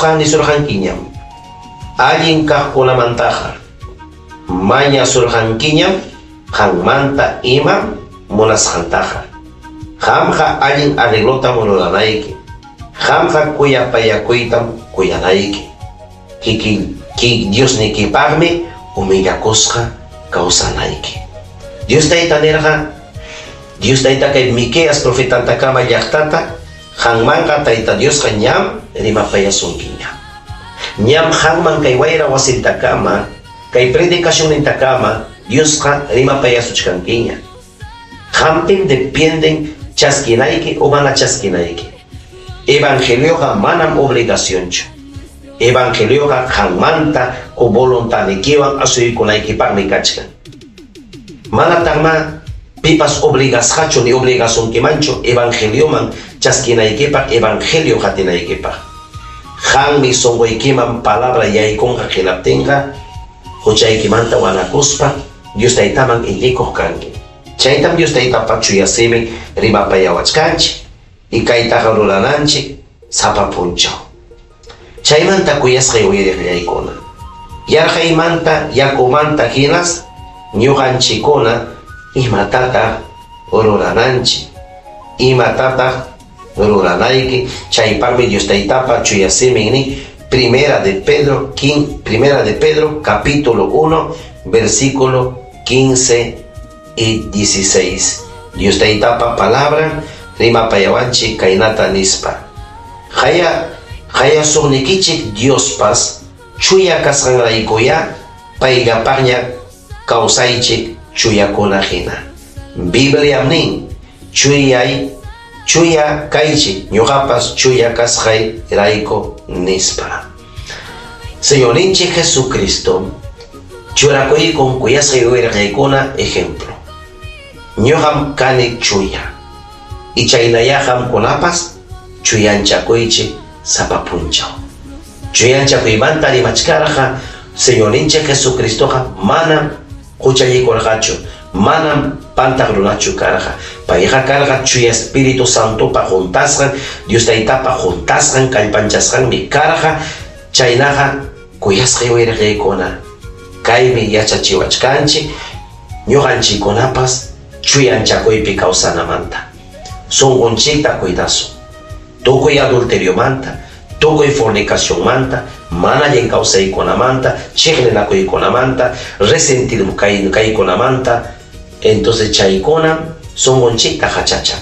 Diosqa nisurqankiñam allin kaqkunamantaqa, mañasurqankiñam qanmanta imam munasqantaqa. Qamqa allin arreglotam ruranayki, qamqa kuyapayakuytam kuyanayki. Kikin Diosnikipaqmi humillakusqa kawsanayki. Dios Tayta nirqa, Dios Tayta kay Miqueas profetantakama llaqtata, qanmanqa Tayta Diosqa ñam rimapayasunkiña. Ñam qanman kay wayra wasintakama, kay predicacionnintakama Diosqa rimapayasuchkankiña. Qampim dependen chaskinayki o mana chaskinayki. Evangelioqa manam obligacionchu. Evangelioqa qanmanta o voluntadnikiwan asuykunaykipaqmi kachkan. Manataqmá pipas obligasqachu ni obligasunkimanchu evangelioman chaskinaykipaq, evangelio qatinaykipaq. Qanmi sonqoykiman palabra yaykunqa hinaptinqa huchaykimanta wanakuspa Dios Taytaman iñikuq kanki. Chaytam Dios Taytapa chuya simin rimapayawachkanchik y kaytaqa rurananchik sapa punchaw. Chaymanta kuyasqay uyariqllaykuna, yarqaymanta, yakumanta hinas ñuqanchikkuna imatataq rurananchik, imatataq ruranayki, chaypaqmi Dios Taytapa chuya simin nin Primera de Pedro, Primera de Pedro capítulo 1, versículo 15 y 16. Dios Taytapa palabra rimapayawanchik kaynata nispa. Qaya qayasuqnikichik Diospas chuya kasqanraykuyá payllapaqña kawsaychik chuyakuna hina. Bibliam nin, chuyay chuya kaychik ñuqapas chuya kasqay rayku nispa. Señorninchik Jesucristo churakuykun kuyasqay wirqaykuna ejemplo. Ñuqam kani chuya. Y chaynayá qamkunapas chuyanchakuychik sapa punchaw. Chuyanchakuymanta rimachkarqa Señorninchik Jesucristoqa manam huchallikurqachu, manam pantaq runachu karqa. Payqa karqa Chuya Espíritu Santopa huntasqan, Dios Taytapa huntasqan, kallpanchasqanmi karqa. Chaynaqa kuyasqay wirqaykuna, kaymi yachachiwachkanchik ñuqanchikkunapas chuyanchakuypi kawsanamanta. Sunqunchikta cuidasun. Tukuy adulteriomanta, tukuy fornicacionmanta, mana allin kawsaykunamanta, chiqninakuykunamanta, resentido kaykunamanta. Entonces chaykunam sunqunchikta hachachan.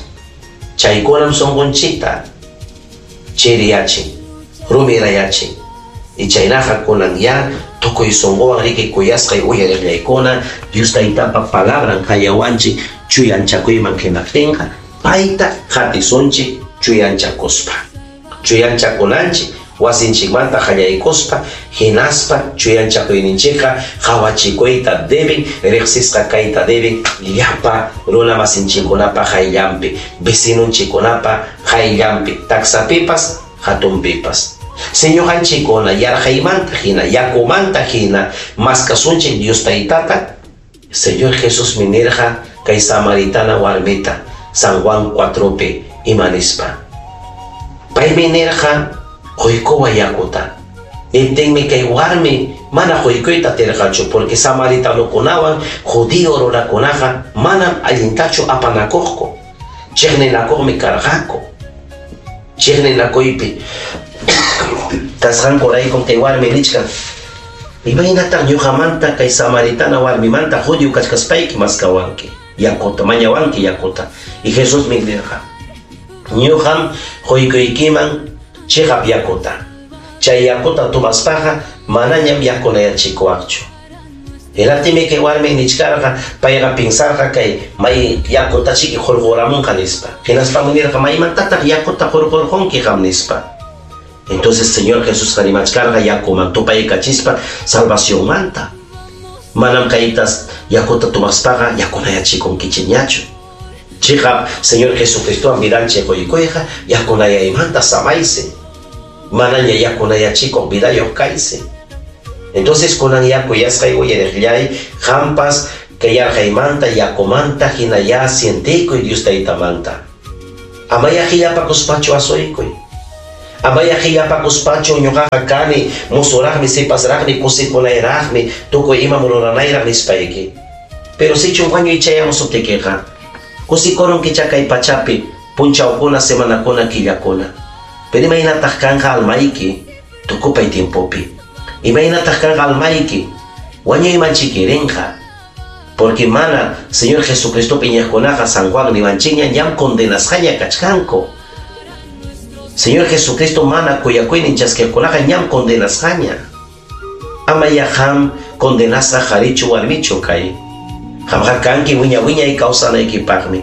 Chaykunam sunqunchikta chiriyachin, rumirayachin. Y chaynaqa kunan ya tukuy sunquwan riki kuyasqay uyariqllaykuna Dios Taytapa palabran qayawanchik chuyanchakuyman hinaptinqa payta qatisunchik chuyanchakuspa. Chuyanchakunanchik wasinchikmanta qallaykuspa hinaspa chuyanchakuyninchikqa qawachikuyta deben, riqsisqa kayta deben llapa runamasinchikkunapa qayllanpi, vecinonchikkunapa qayllanpi, taksapipas, hatunpipas. Señoqanchikkuna yarqaymanta hina, yakumanta hina maskasunchik Dios Taytata. Señor Jesusmi nirqa kay samaritana warmita San Juan 4pi ima nispa. Paymi nirqa quykuway yakuta. Niptinmi kay warmi mana quykuyta atirqachu porque samaritanokunawan judío runakunaqa manam allintachu apanakuqku. Chiqninakuqmi karqaku. Chiqninakuypi kasqankuraykum kay warmi nichkan, imaynataq ñuqamanta kay samaritana warmimanta judío kachkaspayki maskawanki yakuta, mañawanki yakuta. Y Jesusmi nirqa, ñuqam quykuykiman chiqap yakuta. Chay yakuta tomaspaqa manañam yakunayachikuwaqchu. Hinaptinmi kay warmi nichkarqa, payqa pinsarqa kay may yakutachiki hurquramunqa nispa. Hinaspam nirqa, maymantataq yakuta hurqurqunki qam nispa. Entonces Señor Jesusqa rimachkarqa yakuman tupaykachispa salvacionmanta. Manam kaytas yakuta tomaspaqa yakunayachikunkichikñachu. Chiqap Señor Jesucristowan vidanchik quykuyqa yakunayaymanta samaysi. Manaña yakunayachikuq vidayuq kaysi. Entonces kunan yakuyasqay uyariqllay, qampas kay yarqaymanta yakumanta hinayá sientikuy Dios Taytamanta. Amaya qillapakuspachu asuykuy. Amaya qillapakuspachu ñuqaqa kani, musuraqmi, sipasraqmi, kusikunayraqmi, tukuy imam ruranayraq nispayki. Pero sichum wañuy chayamusuptikiqa, kusikurunkichá kay pachapi punchawkuna, semanakuna, killakuna. Pero imaynataq kanqa almayki tukupay tiempopi? Imaynataq kanqa almayki wañuyman chikirinqa? Porque mana Señor Jesucristopi iñiqkunaqa San Juan niwanchikña ñam condenasqaña kachkanku. Señor Jesucristo mana kuyakuynin chaskiqkunaqa ñam condenasqaña. Amaya qam condenasqa qarichu warmichu kay. Qamqa kanki wiña-wiñay kawsanaykipaqmi.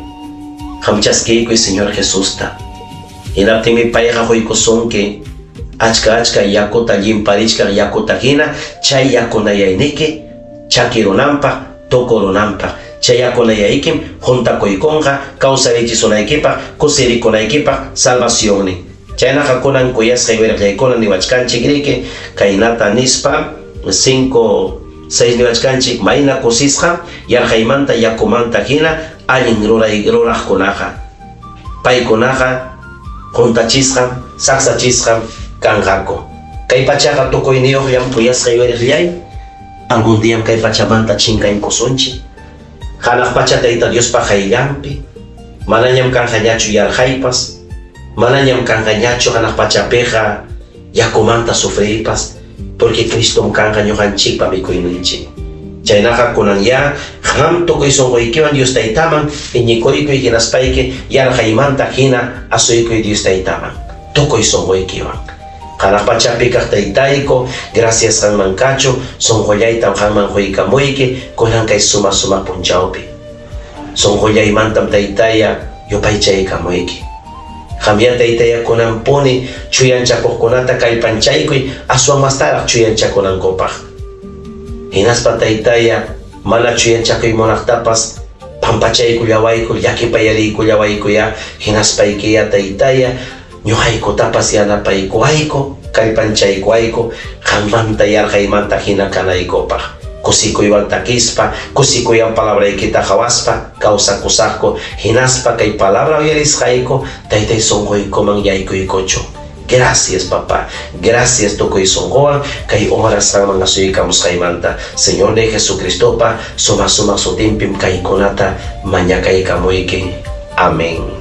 Qam chaskiykuy Señor Jesusta. Hinaptinmi payqa quykusunki achka-achka yakuta llimparichkaq yakuta hina chay yakunayayniki chakirunanpaq, tukurunanpaq. Chay yakunayaykim juntakuykunqa kawsarichisunaykipaq, kusirikunaykipaq salvacionnin. Chaynaqa kunan kuyasqay wiraqllaykuna niwachkanchik riki kaynata nispa 5, 6 niwachkanchik mayna kusisqam yarqaymanta yakumanta hina allin ruray ruraqkunaqa. Paykunaqa juntachisqam, saksachisqam kanqaku. Kay pachaqa tukuyniyuqllam kuyasqay wiraqllay, algún diam kay pachamanta chinkaykusunchik. Hanaq pacha Tayta Diospa qayllanpi, manañam kanqañachu yarqaypas, manañam kanqañachu hanaq pachapiqa yakumanta sufriypas, porque Cristom kanqa ñuqanchikpa mikuyninchik. Chaynaqa kunan ya qam tukuy sunquykiwan Dios Taytaman iñikuykuy hinaspayki yarqaymanta hina asuykuy Dios Taytaman tukuy sunquykiwan. Hanaq pachapi kaq Taytayku, gracias qanman kachu, sunqullaytam qanman quykamuyki kunan kay sumaq sumaq punchawpi. Sunqullaymantam Taytaya yupaychaykamuyki. Qamya Taytaya kunanpuni chuyanchakuqkunata kallpanchaykuy aswan mastaraq chuyanchakunankupaq. Hinaspa Taytaya mana chuyanchakuy munaqtapas pampachaykullawayku, llakipayariykullawaykuya, hinaspaykiya Taytaya ñuqaykutapas yanapaykuwayku, kallpanchaykuwayku, qanmanta yarqaymanta hina kanaykupaq. Kusikuywan takispa, kusikuywan palabraykita qhawaspa, kawsakusaqku, hinaspa kay palabra uyarisqayku, Taytay sunquykuman yaykuykuchu. Gracias, papá. Gracias tukuy sunquwan kay horas qanman asuykamusqaymanta. Señor de Jesucristopa sumaq sumaq sutinpim kaykunata mañakaykamuyki. Amén.